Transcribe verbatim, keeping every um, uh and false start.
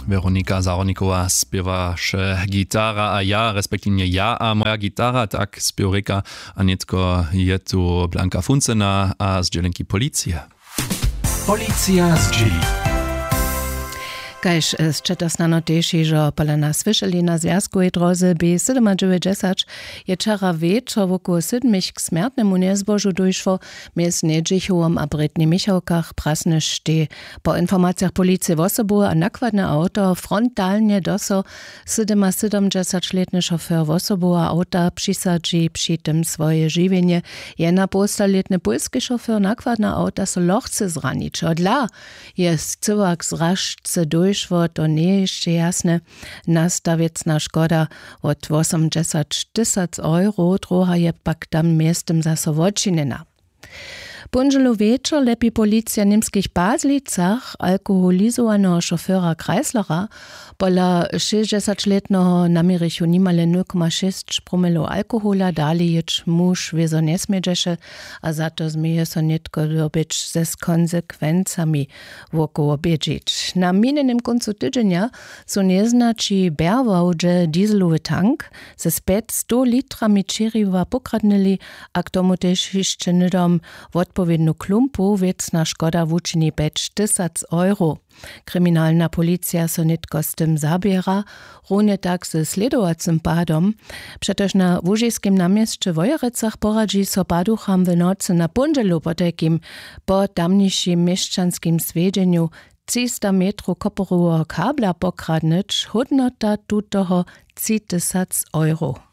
Weronika Zahornikowa spěwaše gitara a ja, respektiwnje ja a moja gitara, tak spěwrěka. A nětko je tu Blanka Funcena a zdźělenki policije. Policija zdźěli. Kaž sće to snano tež hižo pola nas słyšeli, na zwjazkowej dróze b sydomadźewjećdźesać je wčera wječor wokoło sydmich k smjertnemu njezbožu dóšło. Mjez njedźichowom a brětnje michałkach prasnyštej po informacijach policije wosobowe a nakładne awto frontalnje doso. Sydomasydomdźesaćlětny šofér wosoboweho awta přisadźi při tym swoje žiwjenje. Jenapołstalětny pólski šofér nakładneho awta so lochce zranić hodla. Je scyłak zražce dóšło, to njeje hišće jasne. Nasta wěcna škoda wot wosomdźesać tysac euro, druha je pak tam mjeztym zaso wočinjena. Póndźelu wječor lepi policija w němskich pazlicach alkoholizowaneho šoféra kreislera. Pola šěsćdźesaćlětneho naměrichu nimale nul koma šěsć promilow alkohola dali jěć muž wězo njesmědźeše, a za to změje so nětko dobyć ze z konsekwencami wokoło bědźić. Na minjenym kóncu tydźenja su njeznaći bjerwałdźe dieselowy tank z pjeć stow litrami čěriwa pokradnyli, a k tomu tež hišće hnydom wotpowědnu klumpu. Wěcna škoda wučini pjeć tysac euro. Kriminalna policija so nětko z tym zaběra, runje tak ze slědowacym padom. Přetož na łužiskim na měsće w wojerecach poradźi so paducham w nocy na póndźelu potajkim po tamnišim měšćanskim swjedźenju třista metrow koporoweho kabla pokradnyć. Hódnota tutoho tři tysac euro.